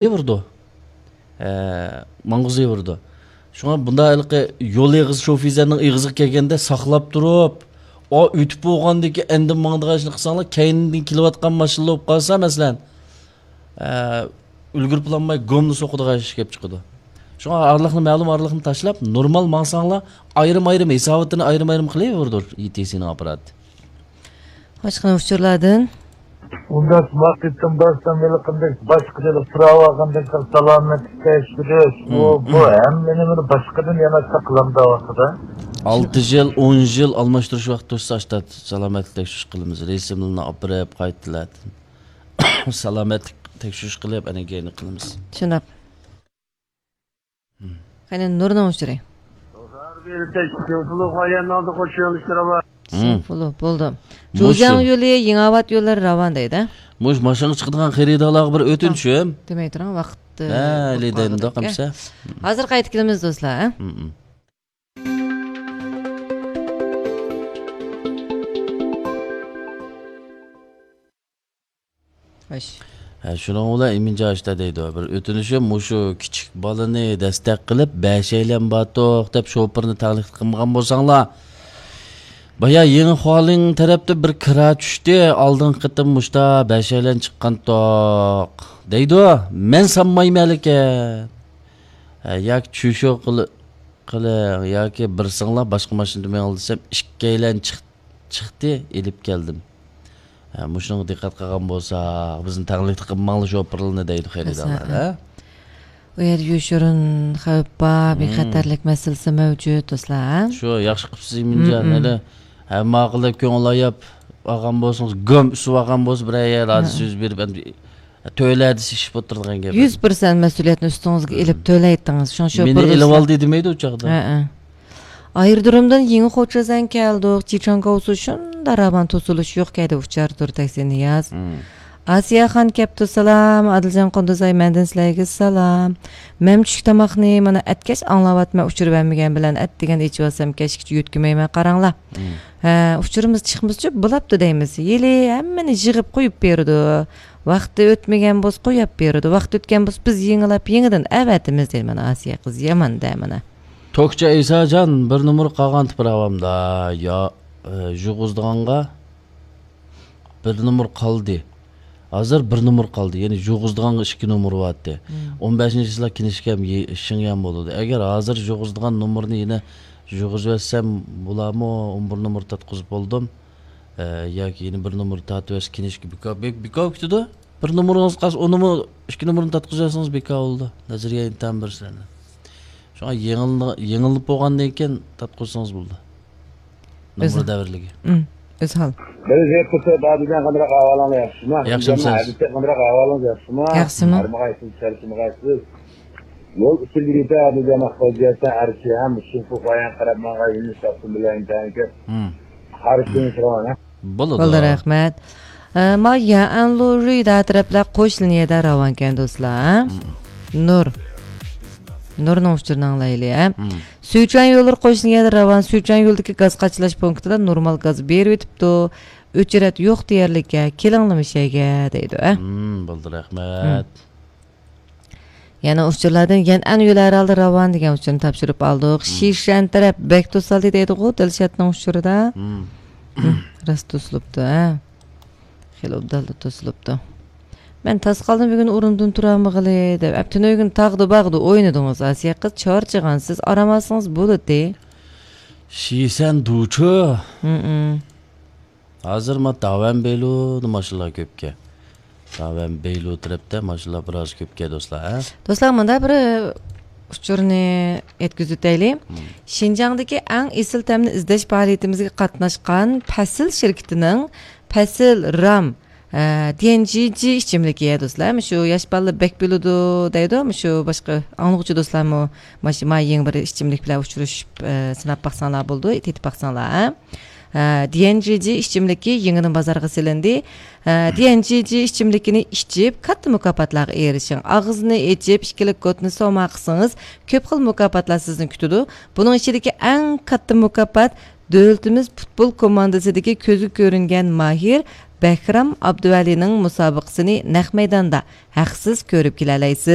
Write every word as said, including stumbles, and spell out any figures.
ئېغىرىدۇ. ھە، ماڭغۇزى ئېغىرىدۇ. شۇڭا بۇنداق ھېلىقى يول ئېغىزى، شوفىزەرنىڭ ئېغىزىغا كەلگەندە ساقلاپ تۇرۇپ، ئا، ئۆتۈپ بولغاندىن كېيىن ئەندىن ماڭىدىغان ئىشنى قىلساڭلار، كەينىدىن كېلىۋاتقان ماشىنىلار بولۇپ قالسا، مەسىلەن، ئە، ئۈلگۈرۈپ بولالماي گومنى سوقىدىغان ئىش كېلىپ چىقىدۇ. شۇڭا ئارىلىقنى، مەلۇم ئارىلىقنى تاشلاپ، نورمال ماڭساڭلار، ئايرىم-ئايرىم ھېساباتىنى ئايرىم-ئايرىم قىلىۋېرىدۇ ئىي تى سىنىڭ ئاپپاراتى. باشقا ئۇچۇرلاردىن؟ ئۇنداق ۋاقىتتىن باشلام ھېلىقىدەك باشقىدىن سوراۋالغاندەك سالامەتلىك تەكشۈرۈش، ئۇ، بۇ ھەممە نېمىنى باشقىدىن يەنە ساقلامدا ۋاقتىدا. ئالتە يىل، ئون يىل ئالماشتۇرۇش ۋاقتى توشسا، ئاشتا سالامەتلىك تەكشۈرۈش قىلىمىز. رەسىملىرىنى ئاپىرىپ، قايتىلەتىن سالامەتلىك تەكشۈرۈش قىلىپ، ئەنە كېيىن قىلىمىز. شۇنداق. قېنى، نۇرنىڭ ئۇچۇرى. سوفۇلۇ، بولدى. مۇشۇ. جۇزياڭ يولى، يېڭىئاۋات يوللىرى راۋان دەيدۇ. مۇشۇ ماشىنىغا چىقىدىغان خېرىدارلارغا بىر ئۆتۈنۈشۈم. دېمەي تۇرۇڭ، ۋاقىت، ئە، بولۇپ قالدى. ھازىر قايتىپ كېلىمىز، دوستلار، ھە؟ خوش. ھە، شۇنىڭ بىلەن ئىمىنجان ئاشتا دەيدۇ، بىر ئۆتۈنۈشۈم، مۇشۇ كىچىك بالىنى دەستەك قىلىپ، بەشەيلەن باتۇق دەپ شوپۇرنى تەڭلىك قىلمىغان بولساڭلار. بايا يېڭى خۇالىڭ تەرەپتە بىر كىرا چۈشتى، ئالدىنقى قېتىم مۇشتا بەشەيلەن چىققانتۇق دەيدۇ. مەن سانمايمەن لېكىن. ھە، ياكى چۈشۈ قىل-، قىلىڭ، ياكى بىرسىڭلار باشقا ماشىنىدا مېڭىڭ دېسەم، ئىككىيلەن چىق-، چىقتى، ئېلىپ كەلدىم. ھە، مۇشۇنىڭغا دىققەت قىلغان بولساق، بىزنى تەڭلىكتە قىلماڭلار شوپۇرلىرىنى دەيدۇ خېرىدارلار، ھە؟ ئۇ يەردە يوشۇرۇن خەۋپ بار، بىخەتەرلىك مەسىلىسى مەۋجۇت، دوستلار، ھە؟ شۇ، ياخشى قىپسىز ئىمىنجان، ھەدە ھەممە ئاقىللىق كۆڭۈل ئاياپ ئالغان بولسىڭىز، گۆم ئۈسۈپ ئالغان بولسا، بىرەر يەردە ھادىسە يۈز بېرىپ، ئەمدى تۆلە دېسە ئىش بولۇپ تۇرىدىغان گەپ. يۈز پىرسەنت مەسئۇلىيەتنى ئۈستىڭىزگە ئېلىپ تۆلەيتتىڭىز. شۇڭا شوپۇر مېنى ئېلىۋالدى دېمەيدۇ ئۇ چاغدا. ھەئە. ئايرودرومدىن يېڭى خوچۈزەن كەلدۇق. جىچاڭگاۋسۇ شۇنداق راۋان توسۇلۇش يوق كەيدە ئۇچار تۇر تەكسى نىياز. ئاسىيەخان كەپتۇ، سالام. ئادىلجان قۇندۇزئاي، مەندىن سىلەرگە سالام. مەن چۈشلۈك تاماقنى مانا ئەتكەچ ئاڭلاۋاتىمەن، ئۇچۇر بەرمىگەن بىلەن ئەتىگەن ئېچىۋالسام كەچكىچە يۆتكىمەيمەن، قاراڭلار. ھە، ئۇچۇرىمىز چىقمىسىچۇ بولاپتۇ دەيمىز. ھېلى ھەممىنى يىغىپ قويۇپ بېرىدۇ. ۋاقتى ئۆتمىگەن بولسا قويۇپ بېرىدۇ. ۋاقتى ئۆتكەن بولسا بىز يېڭىلاپ يېڭىدىن ئەۋەتىمىز دەيدۇ. مانا ئاسىيە قىز يامان دە مانا. توكچى ئەيساجان، بىر نومۇر قالغانتى پىراۋامدا. يا، ئە، يۇغۇزدىغانغا بىر نومۇر قالدى. ھازىر بىر نومۇر قالدى. يەنى يۇغۇزدىغانغا ئىككى نومۇر بارتى. ئون بەشىنچى چىسلا كىنىشكام يې-، شىڭيان بولىدۇ. ئەگەر ھازىر يۇغۇزدىغان نومۇرنى يەنە يۇغۇزۇۋەتسەم بولارمۇ؟ ئون بىر نومۇر تارتقۇزۇپ بولدۇم. ئە، ياكى يەنە بىر نومۇر تارتىۋەتسە كىنىشكا بىكار، بىك-، بىكار كېتىدۇ. بىر نومۇرىڭىز قالسا، ئون نومۇر، ئىككى نومۇرنى تارتقۇزۇۋەتسىڭىز بىكار بولىدۇ. نەزەرىيە ئىمتىھان بىر سىلەرنى. شۇڭا يېڭىلما-، يېڭىلىپ بولغاندىن كېيىن تارتقۇزسىڭىز بولىدۇ. نومۇر دەۋرلىكى. ئۆزھال. بىر زەپ قىلسا، بابىجان قانداق ئەھۋالىڭلار ياخشىمۇ؟ ياخشىمۇ؟ ھەدىسى قانداق ئەھۋالىڭلار ياخشىمۇ؟ ياخشىمۇ؟ ھارمىغايسىز، چارچىمىغايسىز. يول ئۈستىدە يۈرۈپ، بابىجان ئاققوجا ئەرشى ھەم شىنفۇ بايان قاراپ ماڭغان يۈنۈس تاپسۇن بىلەن ئىنتايىن كۆپ. قارشى تۇرۇش راۋان، ھە؟ بولىدۇ. بولدى، رەھمەت. ئە، ما يەنلۇرۇيدا تەرەپلەر قوشنا يەردە راۋانكەن، دوستلار، ھە؟ نۇر. نۇرنىڭ ئۇچۇرىنى ئاڭلايلى، ھە؟ سۈچۈەن يوللىرى قوشنا يەردە راۋان، سۈچۈەن يولىدىكى گاز قاچىلاش پونكىتىدا نورمال گاز بېرىۋېتىپتۇ. ئۆچرەت يوق دېيەرلىككە، كېلىڭلار مۇشەگە دەيدۇ، ھە؟ بولدى، رەھمەت. يەنە ئۇچۇرلاردىن يەنئەن يولى ھەر ھالدا راۋان دېگەن ئۇچۇرنى تاپشۇرۇپ ئالدۇق. شىشەن تەرەپ بەك توسالدى دەيدىغۇ دىلشاتنىڭ ئۇچۇرىدا. راست توسۇلۇپتۇ، ھە. خېلى ئوبدانلا توسۇلۇپتۇ. مەن تاس قالدىم بۈگۈن ئورنۇمدىن تۇرالمىغىلى دەپ. ئەپ تۈنۈگۈن تاغدا باغدا ئوينىدىڭىز، ئاسىيە قىز، چارچىغانسىز، ئارام ئالسىڭىز بولىدى. شىشەن دۇچۇ. ھازىر ما داۋەن بېيلۇدا ماشىنىلار كۆپكەن. داۋەن بېيلۇ تەرەپتە ماشىنىلار بىراز كۆپكەن، دوستلار، ھە؟ دوستلار، مۇندا بىر ئۇچۇرنى يەتكۈزۈۋېتەيلى. شىنجاڭدىكى ئەڭ ئېسىل تەمنى ئىزدەش پائالىيىتىمىزگە قاتناشقان پەسىل شىركىتىنىڭ پەسىل رام، ئە، دىيەنجىجى ئىچىملىكى، دوستلار. مۇشۇ ياش بالىلار بەك بىلىدۇ دەيدۇ. مۇشۇ باشقا ئاڭلىغۇچى دوستلارمۇ ماش-، ما يېڭى بىر ئىچىملىك بىلەن ئۇچرىشىپ، ئە، سىناپ باقساڭلار بولىدۇ، تېتىپ باقساڭلار، ھە؟ ھە، دىيەنجىجى ئىچىملىكى يېڭىدىن بازارغا سېلىندى. ھە، دىيەنجىجى ئىچىملىكىنى ئىچىپ، كاتتا مۇكاپاتلارغا ئېرىشىڭ. ئاغزىنى ئېچىپ، ئىككىلىك كودنى سوما قىلسىڭىز، كۆپ خىل مۇكاپاتلار سىزنى كۈتىدۇ. بۇنىڭ ئىچىدىكى ئەڭ كاتتا مۇكاپات دۆلىتىمىز پۇتبول كوماندىسىدىكى كۆزگە كۆرۈنگەن ماھىر بەھرام ئابدۇۋەلىنىڭ مۇسابىقىسىنى نەق مەيداندا ھەقسىز كۆرۈپ كېلەلەيسىز.